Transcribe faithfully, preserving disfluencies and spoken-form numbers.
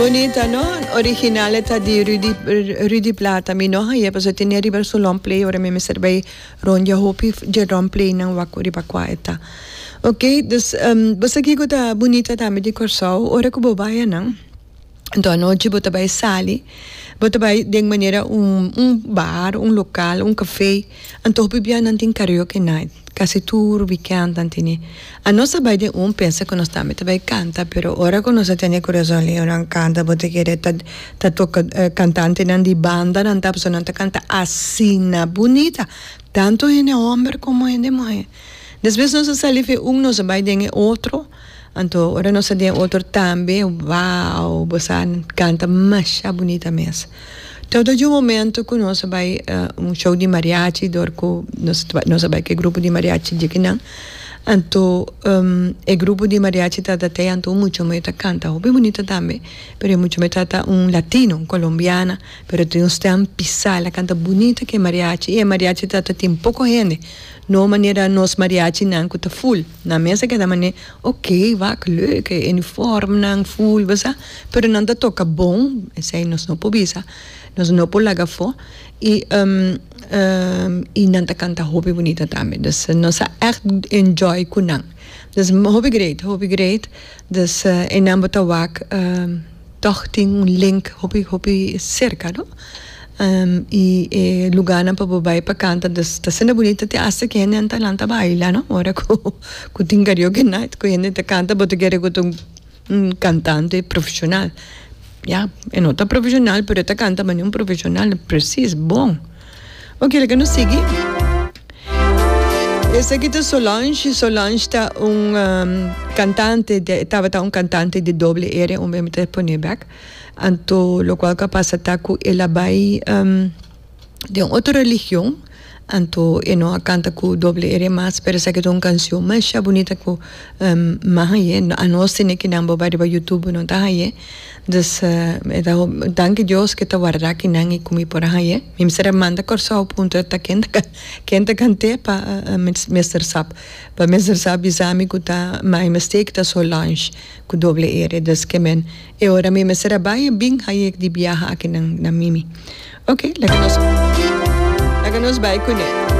Bunita, no? Original ta di Rudy, Rudy Plata. Mi no hañ'é, paso tin riba su long play, ora mi mester bai rondia hopi dje long play nan wak riba kua e ta. Ok, dus um, bo sa kiko ta bunita tambe di Kòrsou, ora ku bo bai nan. Anto anochi bo ta bai sali, bo ta bai den manera un un bar, un lokal, un kafé. Anto hopi bia nan tin karaoke night. Kasi tur weekend nan tin. Anos a bai den un pensa ku nos tambe ta bai kanta, pero ora ku nos a tende Corazon Leon nan kanta, bo ta kere ta ta toka kantantenan di banda nan ta, pasobra nan ta kanta asina bunita. Tantu hende hòmber komo hende muhé. Despues nos a sali fe un, nos a bai den e otro. Anto ora nos a den e otro tambe, wow, bo sa kanta masha bunita mes. Tot un momento ku nos a bai un show di mariachi dor ku nos nos a bai ku e grupo di mariachi djekinan. Anto e grupo di mariachi tabata te anto un mucha muhé ta kanta hopi bunita tambe, pero e mucha muhé tabata un latino, un colombiana, pero tin un stèm pisá, el a kanta bunita ku e mariachi i e mariachi tabata tin poko hende, no manera nos mariachinan ku ta ful. Nan mes a keda manera ok, wak leuk, e uniformnan ful, bo sa, pero nan ta toka bon, esei nos no por bisa, nos no por laga afó i i nan ta kanta hopi bunita tambe. Dus nos a ègt enjoy ku nan. Dus hopi great, hopi great. Dus einan bo ta wak tòg tin un link hopi hopi serka, no? I e lugánan pa bo bai pa kanta, dus ta asina bunita te asta ku hende ta lanta baila, no? Ora ku ku tin karaoke night ku hende ta kanta bo ta kere ku ta un kantante profeshonal. Ya, e no ta profeshonal pero e ta kanta manera un profeshonal presis bon. Ok, laga nos sigui. Esaki ta Solange. Solange ta un kantante, tabata un kantante di doble ere, un mi ta pone bek. Anto lokual ku a pasa ta ku el a bai den otro religion, anto e no a kanta ku doble ere mas, pero esaki ta un kanshon masha bunita ku mi a hañ'é. Anos tene kinan bo bai riba YouTube bo no ta hañ'é. Dus e ta danki Dios ku e ta warda kinan i ku mi por a hañ'é. Mi mester a manda Kòrsou puntra ta ken ta ken ta kant'é pa Mister Sap pa Mister Sap bisa mi ku ta my mistake ta Solange ku doble ere. Dus ke men e ora mi mester a bai bin hañ'é di biaha aki na Mimi. Ok, laga nos laga nos bai kuné.